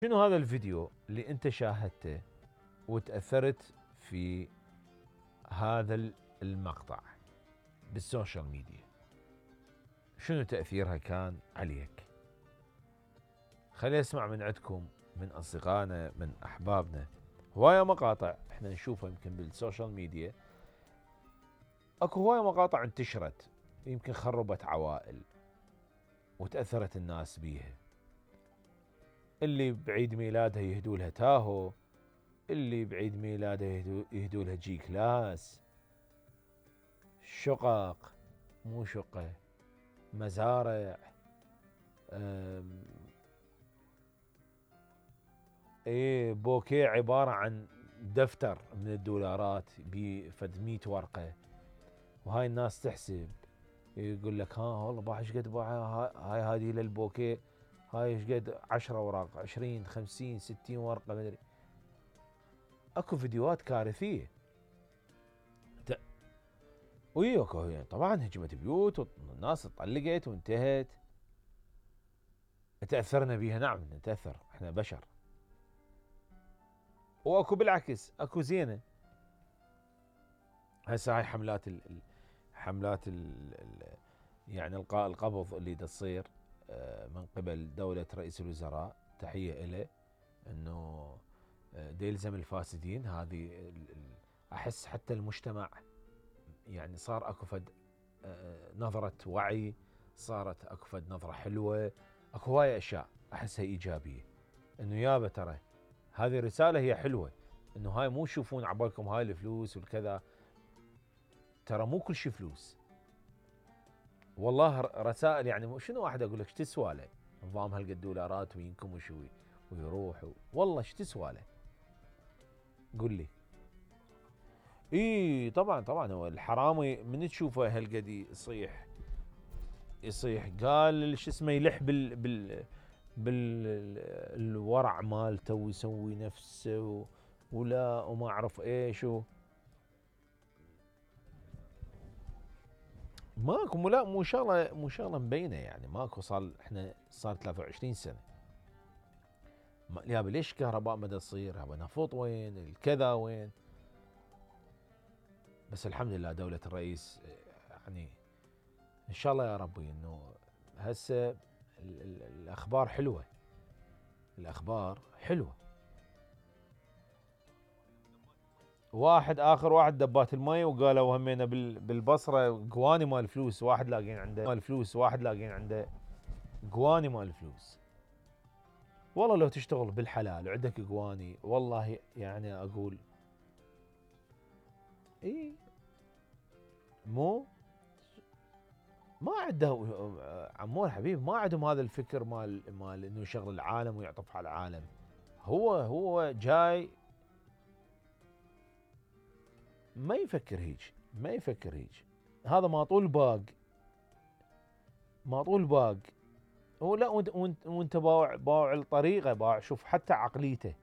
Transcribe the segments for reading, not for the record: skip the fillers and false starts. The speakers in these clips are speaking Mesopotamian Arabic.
شنو هذا الفيديو اللي انت شاهدته وتأثرت في هذا المقطع بالسوشيال ميديا؟ شنو تأثيرها كان عليك؟ خلينا نسمع من عندكم، من أصدقائنا، من أحبابنا. هواية مقاطع احنا نشوفها يمكن بالسوشيال ميديا، اكو هواية مقاطع انتشرت يمكن خربت عوائل وتأثرت الناس بيها. اللي بعيد ميلادها يهدوا لها تاهو، اللي بعيد ميلاده يهدوا لها جي كلاس، شقق مو شقة، مزارع، بوكيه عبارة عن دفتر من الدولارات بفد 100 ورقة، وهاي الناس تحسب، يقول لك ها والله باع ايش قد باع هاي هذه للبوكيه، هاي ايش قد 10 اوراق، 20 50 60 ورقة مدري. اكو فيديوهات كارثية. وياكو طبعا هجمت بيوت والناس طلقت وانتهت. تأثرنا بيها، نعم نتأثر، احنا بشر. واكو بالعكس اكو زينة. هسه هاي حملات يعني القاء القبض اللي تصير من قبل دولة رئيس الوزراء، تحية له، انه يلزم الفاسدين. هذه احس حتى المجتمع يعني صار اكو فد نظرة وعي، صارت اكو فد نظرة حلوة، اكو هواية اشياء احسها ايجابية. انه يابا ترى هذه الرسالة هي حلوة، انه هاي مو تشوفون عبالكم هاي الفلوس والكذا، ترى مو كل شيء فلوس. والله رسائل يعني شنو واحد اقول لك ايش تسوى له نظام هالقد دولارات وينكم وشوي ويروح والله ايش تسوى له؟ قل لي. اي طبعا هو الحرامي من تشوفه هالقد يصيح قال شو اسمه، يلح بالورع مالته ويسوي نفسه ولا وما اعرف ايش ماكو لا مو شغله مبينه يعني. ماكو احنا صار 23 سنه يابا ليش كهرباء ما تصير، يابا نفط وين، الكذا وين. بس الحمد لله دولة الرئيس يعني ان شاء الله يا ربي انه هسه الاخبار حلوه، الاخبار حلوه. اخر واحد دبات المي وقالوا همينا بالبصره قواني مال فلوس، واحد لاقين عنده قواني مال فلوس. والله لو تشتغل بالحلال وعندك قواني والله يعني اقول اي ما عنده عمور حبيب، ما عندهم هذا الفكر مال انه يشغل العالم ويعطف على العالم. هو جاي ما يفكر هيج. هذا ما طول باق. هو لا وانت باوع الطريقه، باوع شوف حتى عقليته.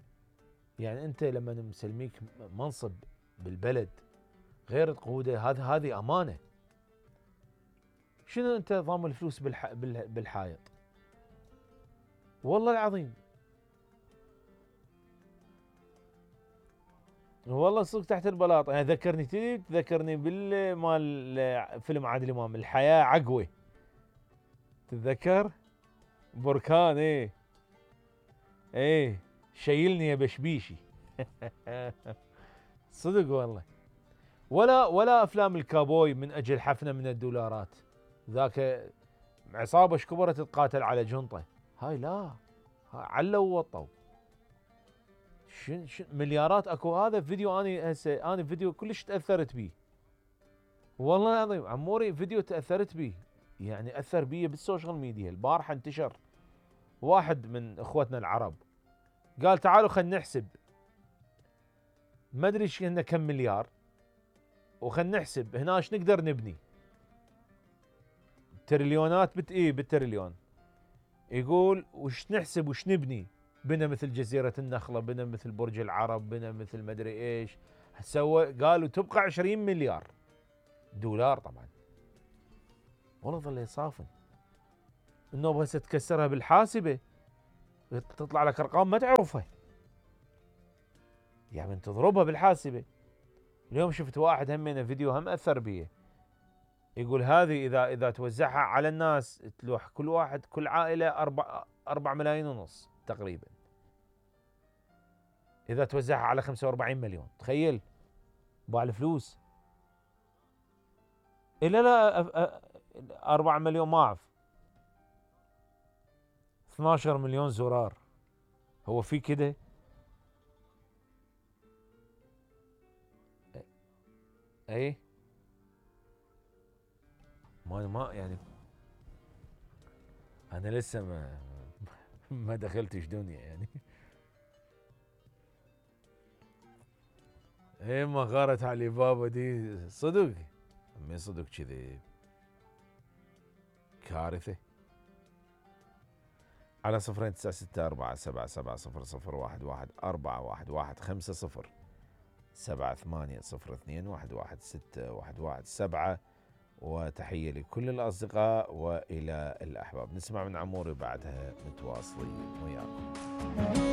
يعني انت لما مسلميك منصب بالبلد غير تقوده، هذه امانه. شنو انت ضام الفلوس بالحائط؟ والله العظيم والله صدق تحت البلاط. يعني تذكرني بالمال فيلم عادل امام الحياة عقوة، تتذكر بركان؟ ايه شيلني يا بشبيشي. صدق والله. ولا افلام الكابوي من اجل حفنة من الدولارات، ذاك عصابة شكبرت تتقاتل على جنطة، هاي لا علوا ووطوا شن مليارات. اكو هذا فيديو انا فيديو كلش تاثرت بيه والله العظيم عموري، فيديو تاثرت بيه يعني اثر بيه بالسوشيال ميديا. البارحه انتشر واحد من اخوتنا العرب قال تعالوا خلينا نحسب، ما ادري ايش كم مليار، وخلينا نحسب هنا ايش نقدر نبني. تريليونات بالتريليون. يقول وش نحسب وش نبني، بنا مثل جزيرة النخلة، بنا مثل برج العرب، بنا مثل مدري ايش سوى. قالوا تبقى 20 مليار دولار. طبعا والله ظل يصافن النوبة هسه تكسرها بالحاسبة. تطلع لك ارقام ما تعرفها، يعني من تضربها بالحاسبه. اليوم شفت واحد همينه فيديو هم اثر بيه، يقول هذه اذا توزعها على الناس تلوح كل واحد كل عائله 4 ملايين ونص تقريبا، اذا توزعها على 45 مليون تخيل بالفلوس. الا لا 4 مليون ما اعرف 12 مليون زرار، هو في كده؟ اي ما يعني انا لسه ما دخلتش دنيا يعني. اي ما غارت علي بابا دي صدق، من صدق كذي كارثة. على 096477001150 78021117. وتحية لكل الأصدقاء وإلى الأحباب. نسمع من عموري بعدها متواصلين وياكم.